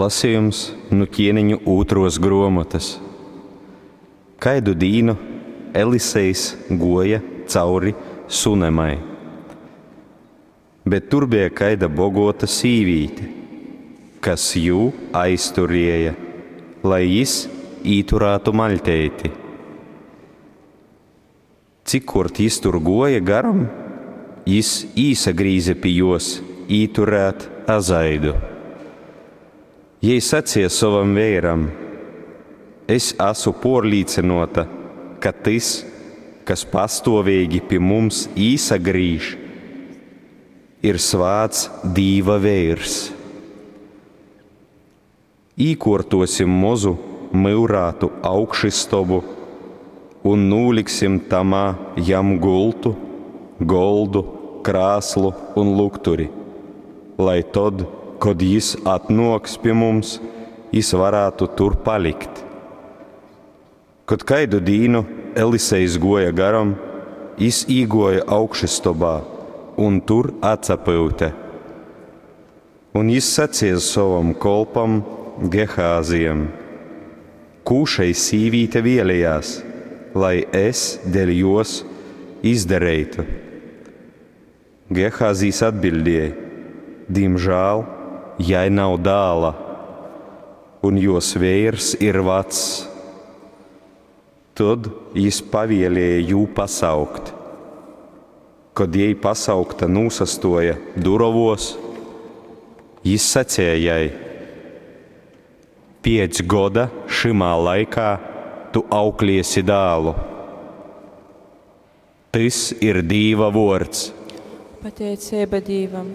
Lasejums nu Ķieneņu ūtruos gruomotys. Kaidu dīnu Elisejs guoja cauri Sunemai. Bet tur beja kaida boguota sīvīte, kas jū aizturēja, lai jis īturātu maļteiti. Cikkuort jis tur guoja garom, jis īsagrīze pi juos īturēt azaidu. Jei saceja sovam veiram, Es asu puorlīcynuota, ka tys, kas pastuoveigi pi mums īsagrīž, ir svāts Dīva veirs. Īkuortuosim mozu myurātu augšystobu un nūliksim tamā jam gultu, goldu, krāslu un lukturi, lai tod, kod jis atnuoks pi mums, jis varātu tur palikt. Kod kaidu dīnu Elisejs guoja garom, jis īguoja augšystobā un tur atsapyute. Un jis saceja sovam kolpam Gehāzijam: Kū šei sīvīte vēlejās, lai es dēļ juos izdareitu? Gehāzijs atbildēja: Dīmžāl jai nav dāla, un juos veirs ir vacs. Tod jis pavielēja jū pasaukt. Kod jei pasaukta nūsastuoja durovuos, jis saceja jai: Piec goda šymā laikā tu aukliesi dālu. Tys ir Dīva vuords. Pateiceiba Dīvam.